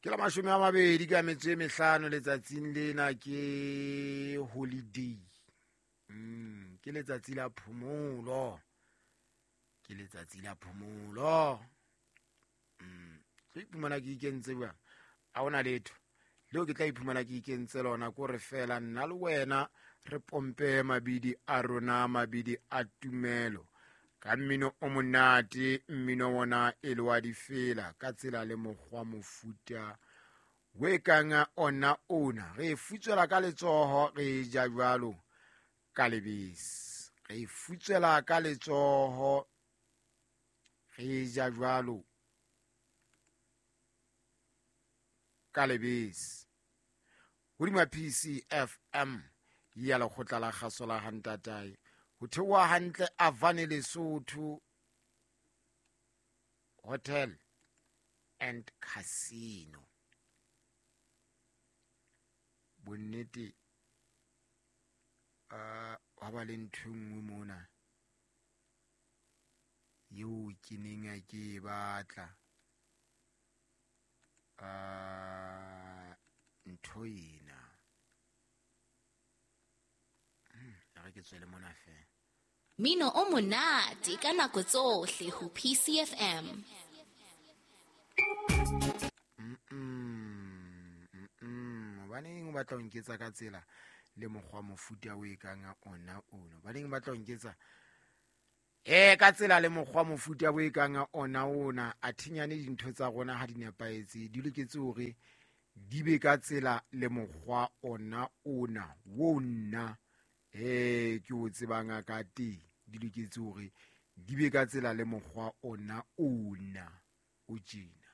Ke la 25 letsatsing lena, ke holiday. Ke letsatsi la phomolo, ke letsatsi la phomolo. Tlo iphumana ke ikentse jwang? A hona letho leo ke tla iphumana ke ikentse lona, ko re fela nna le wena re pompe mabidi a rona, mabidi a tumelo ka mmino o monate, mmino wona e le wa difela ka tsela le mokgwa mofuta we kang ona ona. Re e futswela ka letsoho, re e ja jwalo ka lebese, re e futswela ka letsoho, re e ja jwalo ka lebese. Hodima PCFM ya lekgotla la kgaso la hantatae, ho theoha hantle Avane Lesotho Hotel and Casino. Bonnete hwa ba le ntho e nngwe mona yeo ke neng ke e batla. Ntho ena re ke tswele mona fela. Mino o monate ka nako tsohle ho PCFM. Hobaneng o batla ho nketsa ka tsela le mokgwa mofuta o e kang ona ono? Hobaneng o batla ho nketsa ka tsela le mokgwa mofuta o e kang ona ona? A thinyane dintho tsa rona ha di nepahetse, di loketse hore di be ka tsela le mokgwa ona ona wo nna ke o tsebang ka teng. Di loketse hore di be ka tsela le mokgwa ona ona o tjena.